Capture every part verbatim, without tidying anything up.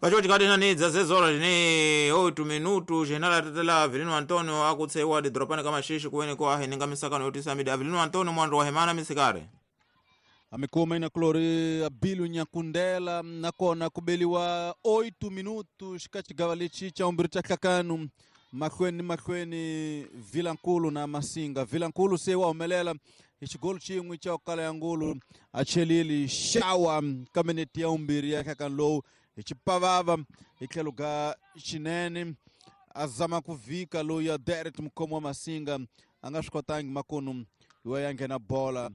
Pacho chikati nani dzazezola tine oito minutu jenala tetela Avelino Antonio akutsewa didropani kama shishi kuweneko aheninga misakano yotisa midi. Avelino Antonio mwando wa hemana misikare Amikoma ina klori Abilu Nyakundela nakona kubeliwa oito minutos kachigavalichi cha umbiri cha kakanu mahlweni mahlweni Vilankulu na Masinga. Vilankulu se wahumelela hi xigolo xin'we cha kala ya ngulu a chelili xawa ka minete ya umbirhi ya nhlakano lowu hi xipavava hi tlhelo ka xinene a zama ku vhika loyi ya Derek mukhomi wa Masinga a nga swi kotangi makunu wa ya nghena bola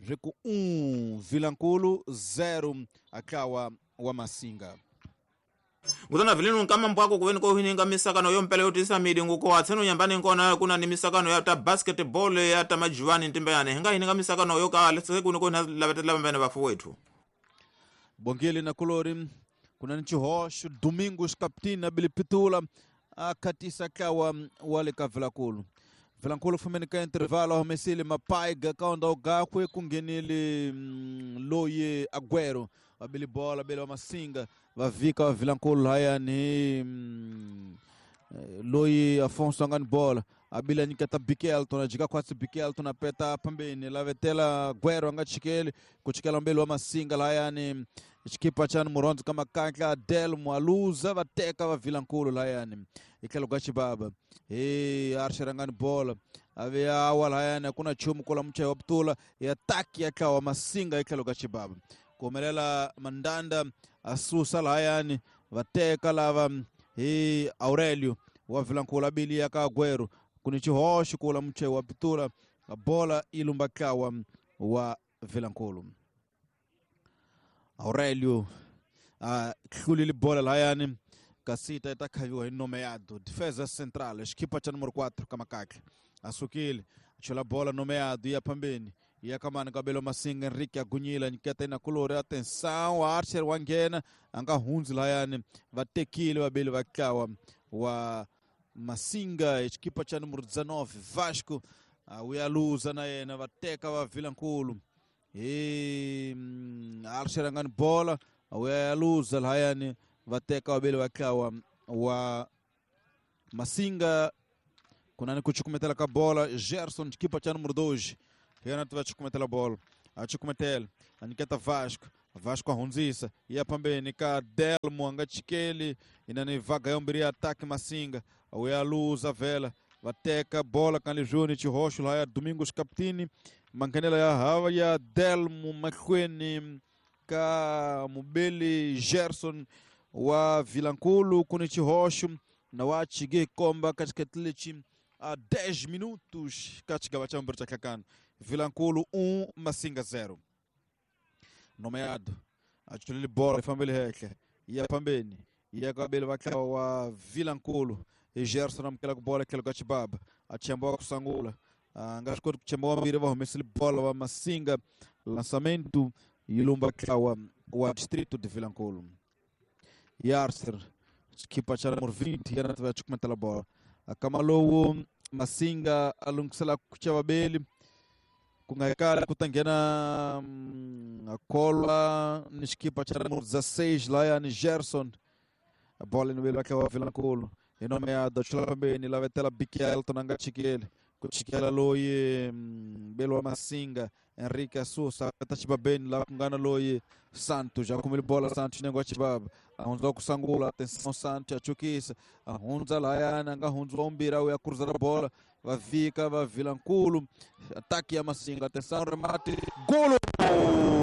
swi ku um Vilankulu zero a wa Masinga. Ngutana vilinu nkama mbwako kuweni ko hininga misakano yompela yotisa midi nguko atseno nyambani nkona kuna ni misakano ya ta basketball ya ta majuani ntimba yane hinga hininga misakano yoka lese kuno ko lavetela mbene bafu wetu. Bongele na kolori kuna ni Chihoxo Domingos Captina Bilipitula akatisa kawa wale ka Vilankulu. Vilankulu fumeni ka intervalo humesile mapaiga kaunda gakwe kunghenile loye Aguero abili bola bele wa Masinga vavika wa Vilankulu haya ni loyi Afonso angani bola abila nyiketa Bikelton ajika kwatsi Bikelton apeta pambeni lavetela Aguero anga chikeli kuchikela mbele wa Masinga haya ni xikipa cha Muronzo kama kankla Delmo aluza vateka va Vilankulu layani itlhelo ka xibaba he Archer angani bola ave awa layani kuna chumu kola mchayi wa putula ya taki ya tlawa Masinga itlhelo ka xibaba kuhumelela Mandanda asusa layani vateka lava hi Aurelio wa Vilankulu abili ya ka Aguero kuni xihoxo kula mchayi wa putula bola ilumba tlawa wa Vilankulu. Aurelio a hlulile bola layani kasita itakhaviwa hi nomeado defesa central xikipa cha número quatro kamakakle asukile chola bola nomeado ya pambeni ya kamana kabelo Masinga Enrique agunyila nyiketa ina kulori atenção Archer wanghena anga hundzi layani vatekile vabeli vatlawa wa Masinga xikipa cha número dezenove Vasco uyaluza na yena vateka va Vilankulu. E Archer angani bola uyaluza layani vateka wabeli watlawa wa Masinga kunani kuchukumetela ka bola Gerson xikipa cha número dois yena tiva chukumetela bola achukumetela aniketa Vasco Vasco ahundzisa ya pambeni ka Delmo anga chikeli inani vaga yombiri ataque Masinga uyaluza vela vateka bola kanlijuni Chihoxo laya Domingos Captini mankanela ya hava ya Delmo mahlweni ka mubeli Gerson wa Vilankulu kuni Chihoxo na wa chige komba katika tlichi a dez minutos katika bachambro cha kakano Vilankulu um Masinga zero. Nomeado achulile bola ifambele heke ya pambeni ya kabele bakla wa Vilankulu e Gerson amkela ku bola kelo kachibaba achambwa kusangula nga swi kuchemba wambiri va humesile bola wa Masinga lançamento ilumba tlawa wa distrito de Vilankulu. Yarser xikipa cha número vinte yena tiva chukumetela bola akamalowo Masinga alungisela kuchava beli kungakala kutanghena akolwa ni xikipa cha número dezesseis laya ni Gerson a bola no beli wa Vilankulu inomeada chula pambeni lavetela Bikelton anga chikele kuchikela loyi belo wa Masinga Enrique Asusa tachibabeni la kungana loyi Santos akumile bola Santos nengo chibaba ahunza kusangula atenção Santos achukisa ahunza layana nga hunza ombira uya cruzar a bola vavika va Vilankulu ataque ya Masinga atenção remate golo.